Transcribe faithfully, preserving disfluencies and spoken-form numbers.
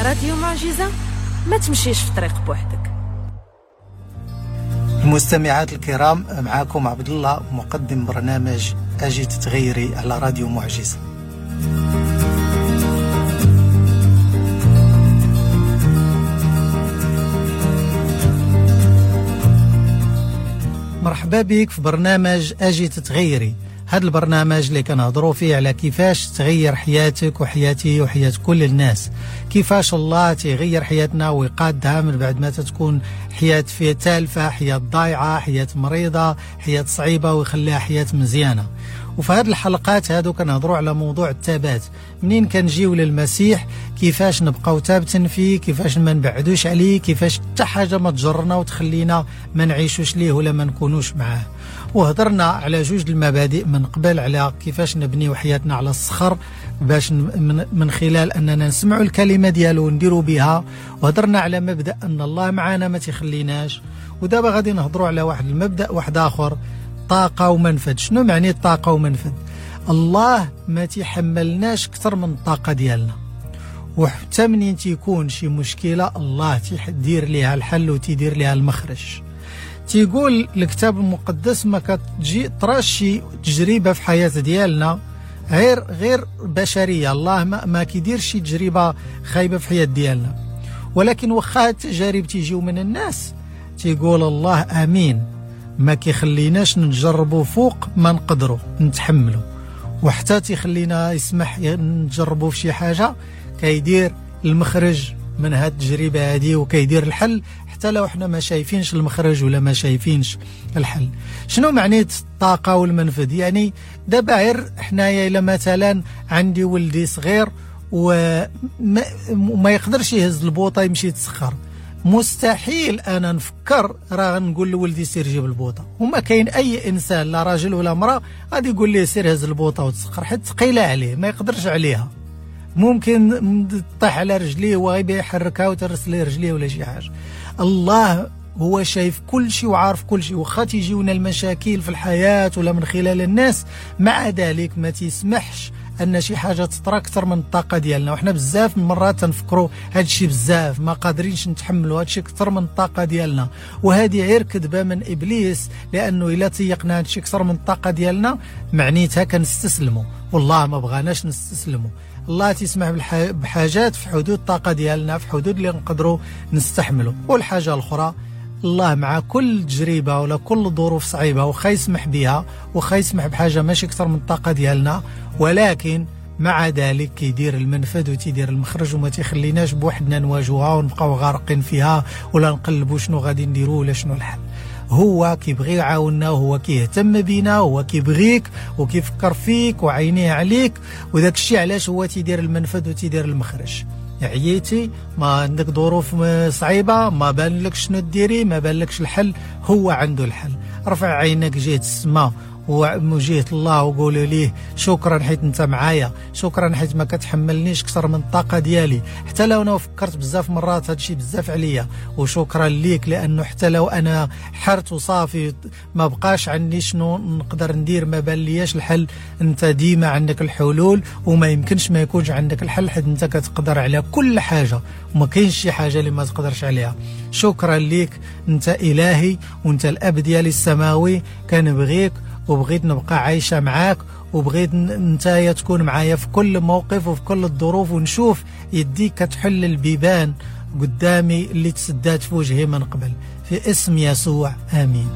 راديو معجزة، ما تمشيش في طريق بوحدك. المستمعات الكرام، معكم عبد الله مقدم برنامج أجي تتغيري على راديو معجزة. مرحبا بك في برنامج أجي تتغيري. هذا البرنامج اللي كنهضروا فيه على كيفاش تغير حياتك وحياتي وحياة كل الناس، كيفاش الله تغير حياتنا ويقادها من بعد ما تكون حياة فيها تالفة، حياة ضايعة، حياة مريضة، حياة صعيبة، ويخليها حياة مزيانة. وفي هذه الحلقات هادو كنهضروا على موضوع الثبات، منين كنجيو للمسيح كيفاش نبقاو ثابتين فيه، كيفاش ما نبعدوش عليه، كيفاش حتى حاجة ما تجرنا وتخلينا ما نعيشوش ليه ولا ما نكونوش معاه. وهضرنا على جوج المبادئ من قبل، على كيفاش نبنيو حياتنا على الصخر باش من خلال أننا نسمعوا الكلمة ديالو ونديروا بها، وهضرنا على مبدأ أن الله معنا ما تخليناش. ودابا غادي نهضروا على واحد المبدأ واحد آخر، طاقة ومنفذ. شنو معني الطاقة ومنفذ؟ الله ما تحملناش أكثر من الطاقة ديالنا، وحتى منين تيكون شي مشكلة الله تيدير ليها الحل وتيدير ليها المخرج. تيقول الكتاب المقدس ما كتجي طراشي تجربة في حياة ديالنا غير غير بشرية، الله ما, ما كيديرش شي تجربة خايبة في حياة ديالنا، ولكن واخا التجارب تيجيو من الناس تيقول الله امين، ما كيخليناش نجربوا فوق ما نقدروا نتحملوا، وحتى تيخلينا يسمح نجربوا في شي حاجة كيدير المخرج من هاد التجربة هذه وكيدير الحل حتى لو احنا ما شايفينش المخرج ولا ما شايفينش الحل. شنو معنى الطاقة والمنفذ؟ يعني دابا غير حنايا الا مثلا عندي ولدي صغير وما ما يقدرش يهز البوطة يمشي يتسخر، مستحيل انا نفكر راه نقول لولدي سير جيب البوطه، وما كاين اي انسان لا راجل ولا امراة غادي يقول ليه سير هز البوطه وتسخر، حيت ثقيلة عليه ما يقدرش عليها، ممكن تطيح على رجليه وغيبي يحركها وترسل ليه رجليه ولا شي حاجة. الله هو شايف كل شيء وعارف كل شيء، وخا تيجيونا المشاكل في الحياة ولا من خلال الناس، مع ذلك ما تيسمحش ان شي حاجة تطرا اكثر من الطاقة ديالنا. وحنا بزاف من مرات تنفكروا هذا الشيء بزاف ما قادرينش نتحملوا هذا الشيء اكثر من الطاقة ديالنا، وهذه غير كذبه من ابليس، لانه الا تيقنا هذا الشيء اكثر من الطاقة ديالنا معنيتها كنستسلموا، والله ما بغاناش نستسلموا. الله تسمح بحاجات في حدود الطاقة ديالنا، في حدود اللي نقدروا نستحملوا. والحاجة الاخرى، الله مع كل تجربه ولا كل ظروف صعيبة وخا يسمح بها وخا يسمح بحاجة ماشي اكثر من الطاقة ديالنا، ولكن مع ذلك كيدير المنفذ وتيدير المخرج، وما تيخليناش بوحدنا نواجهوها ونبقاو غارقين فيها ولا نقلبوا شنو غادي نديروا ولا شنو الحل. هو كيبغي يعاوننا، وهو كيهتم بينا، وهو كيبغيك وكيفكر فيك وعينيه عليك، وداك الشيء علاش هو تيدير المنفذ وتيدير المخرج. عييتي، ما عندك ظروف صعيبة، ما بان لك شنو ديري، ما بان لكش الحل، هو عنده الحل. رفع عينك جهة السماء وجهة الله وقولوا ليه شكرا حيت انت معايا، شكرا حيت ما كتحملنيش اكثر من الطاقة ديالي، حتى لو انا فكرت بزاف مرات هادشي بزاف عليا، وشكرا ليك لانه حتى لو انا حرت وصافي ما بقاش عندي شنو نقدر ندير، ما بان لياش الحل، انت ديما عندك الحلول وما يمكنش ما يكونش عندك الحل، حيت انت كتقدر على كل حاجة وما كاينش شي حاجة اللي ما تقدرش عليها. شكرا ليك، انت الهي وانت الاب ديالي السماوي، كنبغيك وبغيت نبقى عايشة معاك، وبغيت نتايا تكون معايا في كل موقف وفي كل الظروف، ونشوف يديك كتحل البيبان قدامي اللي تسدات في وجهي من قبل. في اسم يسوع، آمين.